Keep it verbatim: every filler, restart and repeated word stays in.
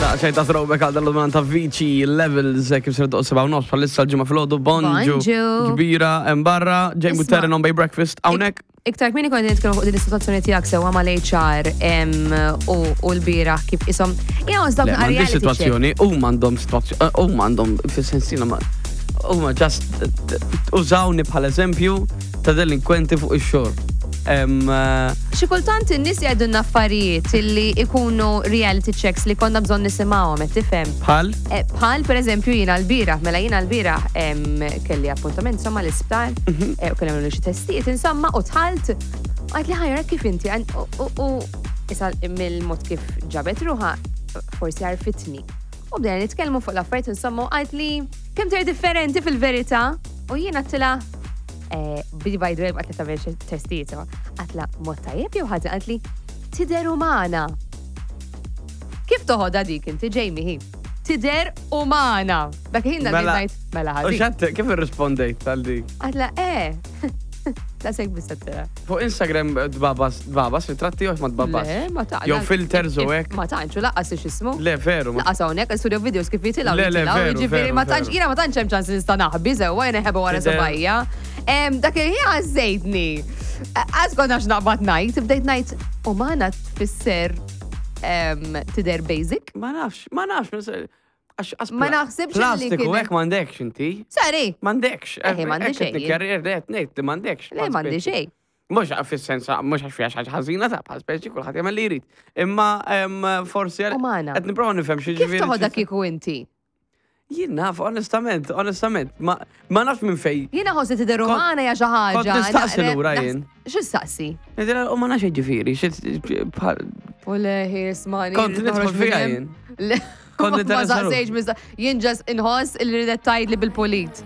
Xejn ta' throwback għal dal ta' Avicii Levels, eh, kif ser doq sebgħa u nofs bħalissa l-Ġimgħa filgħodu, bonġu. Bonġu. Kbira hemm barra, Jamie Isma'. Terren on Bay Breakfast, hawnhekk. Iktar kmieni kont nitkellmu fuq din is-sitwazzjoni tiegħek sewwa mal-H R em, u u l-bieraħ kif isom. Ja, Le, dawk m'għandix reality check. situazzjoni, huma għandhom situazzjoni, huma għandhom fis-sensina ma. Huma just użawni bħal eżempju ta' delinkwenti fuq ix-xogħol. Em, eh, Xi kultant in-nies jgħidulna affarijiet illi ikunu reality checks li konna bżonn nisimgħuhom, qed tifhem? Bħal? Eh, Bħal per eżempju jiena l-bieraħ, mela jiena l-bieraħ em, kelli appuntament insomma l-isptar, Mhm. eh, u kelli għamlu xi testijiet insomma u dħalt, għedt li ħajra kif inti, għan- u- u u issa mill-mod kif ġabet ruħha, forsi għarfitni. U bdejna nitkellmu fuq l-affarijiet insomma u għedt li kemm tidher differenti fil-verità u jiena għedtilha eh, bidi by the way għedt li tagħmel xi testijiet, għedtilha mod tajjeb jew ħażin, għedt li tidher umana. Kif toħodha dik inti, Jamie, hi? Tidher umana. Dak ħin Mela- ngħid mela U ħażin. xatt, kif irrispondejt tal dik? Għedtilha, eh. Ta' sek bis-settera. Fuq Instagram tbagħbas, tbagħbas, ritratti jew ma tbagħbas? Le, ma ta' Jew filters u hekk. Ma tantx, u lanqas x'ismu. Le, veru. ma- Lanqas hawnhekk studio videos kif jitilgħu Le, le, jitilgħu, veru, jiġifieri veru, ma tantx veru. jiena ma tantx hemm ċans nista' naħbi sewwa jiena ħeba wara Tidher- subajja. Em, Dak il-ħin għażejtni. Għax kont għax naqbad ngħid, bdejt ngħid umana tfisser em, tidher basic. Ma nafx, ma nafx. mis- Għax għax Ma pla- naħsibx li Plastiku kien- hekk m'għandekx inti. Sorry, M'għandekx. Eħe, m'għandi xejn. Karrier qed ngħid li m'għandekx. Le, m'għandi xejn. Mhux fis-sens mhux għax fiha xi ħaġa ħażina ta' bħal speċi kulħadd jagħmel li jrid. Imma em, forsi Umana. qed nipprova nifhem xi Kif ġifieri. toħodha kieku inti? Jien naf, onestament, onestament, ma ma nafx minn fej. Jiena ħossi tidher Kont- umana hija xi ħaġa. kont nistaqsi naqra- lura naħs- jien. X'istaqsi? Ngħidilha, U ma nafx ġifieri, xi bħal U leħi, ismani. Kont nidħol fiha jien. Le, Kont ma ninteressa saqsejx, mista- jien just inħoss il ridet tgħidli bil-pulit.